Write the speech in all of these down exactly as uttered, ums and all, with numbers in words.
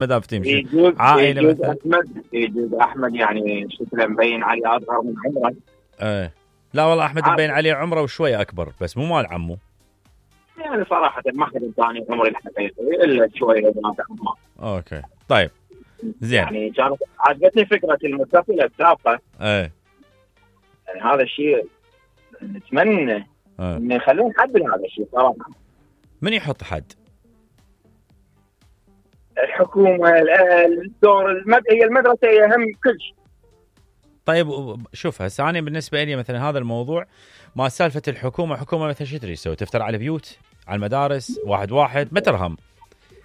ما دام تمشي يجوز عائله يجوز مثلا. احمد يجوز احمد يعني شكله مبين عليه اصغر من عمره. ايه لا والله احمد عادي. مبين عليه عمره وشويه اكبر بس مو مال عمه. يعني صراحه ما حد ثاني عمري الحقيقي الا شويه بنات عمه. اوكي طيب زين. يعني كانت عجبتني فكره المتصله السابقه. ايه يعني هذا الشيء نتمنى ايه انه يخلون حد لهذا الشيء صراحه. من يحط حد؟ الحكومه، الاهل، الدور المد... هي المدرسه هي اهم كل شيء. طيب شوف هسه انا بالنسبه لي مثلا هذا الموضوع ما سالفه الحكومه. حكومه مثلا شو تدري تسوي؟ تفتر على البيوت، على المدارس، واحد واحد ما ترهم.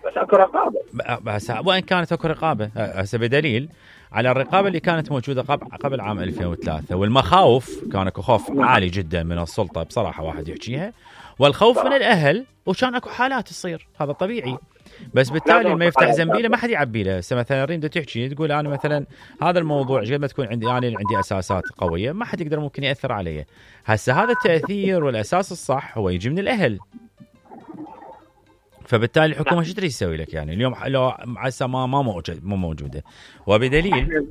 بس اكو رقابه. بس وان كانت اكو رقابه هسه بدليل على الرقابه اللي كانت موجوده قبل قبل عام ألفين وثلاثة، والمخاوف كان اكو خوف عالي جدا من السلطه بصراحه واحد يحكيها، والخوف من الاهل، وكان اكو حالات تصير هذا طبيعي. بس بالتالي ما يفتح زنبيله ما حد يعبي له. هسه مثلا ريم تحكي تقول انا مثلا هذا الموضوع قد ما تكون عندي انا يعني عندي اساسات قويه ما حد يقدر ممكن ياثر علي. هسه هذا التاثير والاساس الصح هو يجي من الاهل. فبالتالي الحكومه شو تريد تسوي لك؟ يعني اليوم لو هسه ما ما موجود مو موجوده، وبدليل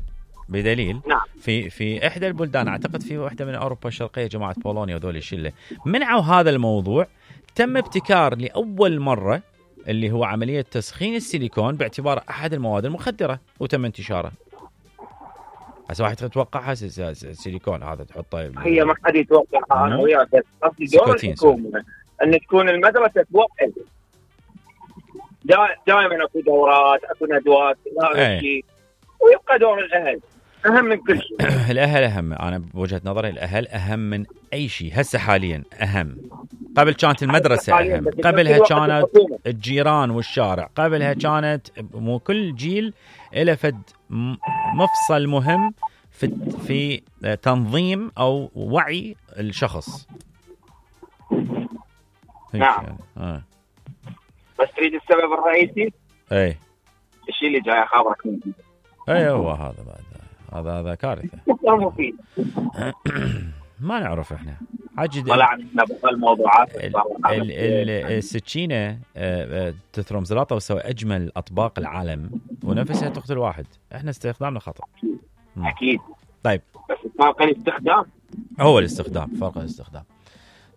بدليل في في احدى البلدان اعتقد في واحده من اوروبا الشرقيه جماعه بولونيا وذول الشله منعوا هذا الموضوع. تم ابتكار لاول مره اللي هو عمليه تسخين السيليكون باعتبار احد المواد المخدره وتم انتشاره. هسه واحد يتوقع السيليكون هذا تحطه هي ما حد يتوقع. انا وياك بس قصدي دور الحكومه ان تكون المدرسه توقف. دائما اكو دورات، اكو ندوات، لا شيء، ويبقى دور الاهل اهم من كل شيء. الاهل اهم. انا بوجهه نظري الاهل اهم من اي شيء. هسه حاليا اهم. قبل كانت المدرسه اهم، قبلها كانت الجيران والشارع، قبلها كانت مو كل جيل له فد مفصل مهم في في تنظيم او وعي الشخص. نعم. يعني. آه. بس تريد السبب الرئيسي؟ اي الشيء اللي جاي خبرك منه. اي هو هذا بعد هذا هذا كارثه. مفيد. ما نعرف احنا عجد طلعنا بالموضوعات. السكينه تثرم زلاطه وتسوي اجمل اطباق العالم ونفسها تقتل واحد. احنا استخدامنا خطا. اكيد. طيب بس فرق الاستخدام. هو الاستخدام، فرق الاستخدام.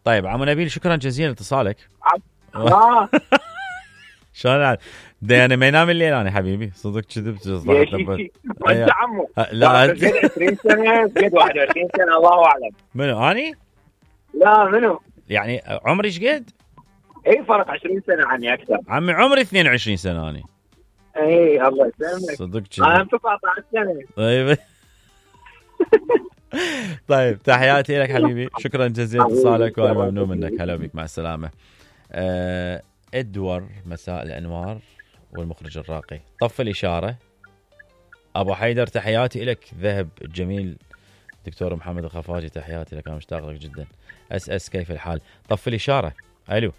طيب عمو نبيل شكرا جزيلا لاتصالك. آه. شلون انا ما ينام الليل انا حبيبي صدق كذبت. انت عمو لا انت عشرين سنه قد واحد وعشرين سنه الله اعلم. منو اني؟ لا منو يعني عمري ايش قد؟ اي فرق عشرين سنه عني اكثر. عمي عمري اثنين وعشرين سنه اني. اي الله يسلمك. صدق انا تسعة عشر سنه. طيب طيب تحياتي لك حبيبي، شكرا جزيلا اتصالك وانا ممنون منك. هلا بك، مع السلامه. أه ادور مساء الانوار والمخرج الراقي. طف الاشاره. ابو حيدر تحياتي لك. ذهب الجميل دكتور محمد الخفاجي تحياتي لك، انا مشتاق لك جدا. اس اس كيف الحال؟ طف الاشاره. الو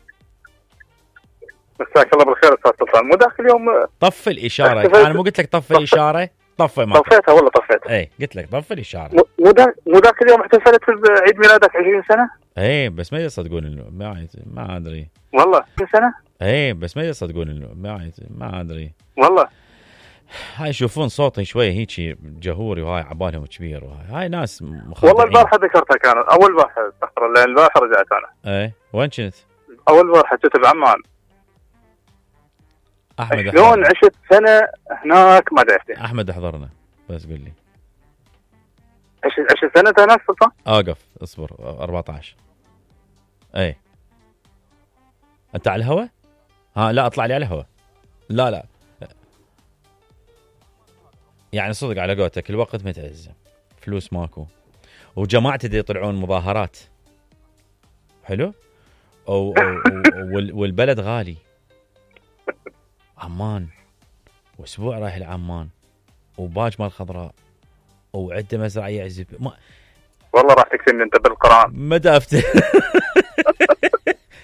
مساك الله بالخير استاذ سلطان. مو داخل اليوم طف الاشاره. انا مو قلت لك طف الاشاره؟ طف ما طفيتها والله طفيتها. اي قلت لك طف الاشاره. مو دا مو ذاك اليوم احتفلت عيد ميلادك عشرين سنه. اي بس ما يصدقون ما ما ادري والله عشرين سنه. اي بس ما يصدقون ما ما ادري والله. هاي يشوفون صوتي شويه هيك جهوري وهاي عبالهم كبير وهاي هاي ناس مخدعين. والله البارحه ذكرتها كانت اول بارحه استغفر الله البارحه رجعت انا. اي وين كنت؟ اول بارحه كنت بعمان. احمد شلون عشت سنه هناك ما ادري. احمد احضرنا بس قل لي. عشت عشت سنه هناك سلطان. اوقف اصبر أربعة عشر. اي انت على الهوا؟ ها لا اطلع لي على الهوا. لا لا يعني صدق على قولتك الوقت متعز، فلوس ماكو، وجماعتي دي يطلعون مظاهرات حلو أو, أو, أو والبلد غالي. عمان واسبوع رايح لعمان وباج مال خضراء وعده مزرعيه عزب ما... والله راح تكتمني انت بالقران. ما دافت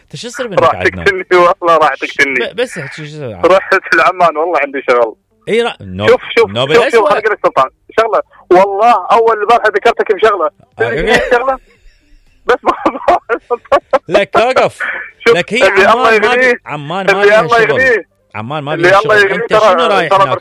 انت شو يصير منك راح تكتمني والله راح تكتمني. بس شو رحت لعمان والله عندي شغل. اي را... نوب... شوف شوف نوب شوف, شوف خليك سلطان شغله والله اول بارحه ذكرتك بشغله شغله بس لك اوقف لك هي عمان ما عمان ما لها شغل. عمان ما بيها شغل. انت شنو رايح هناك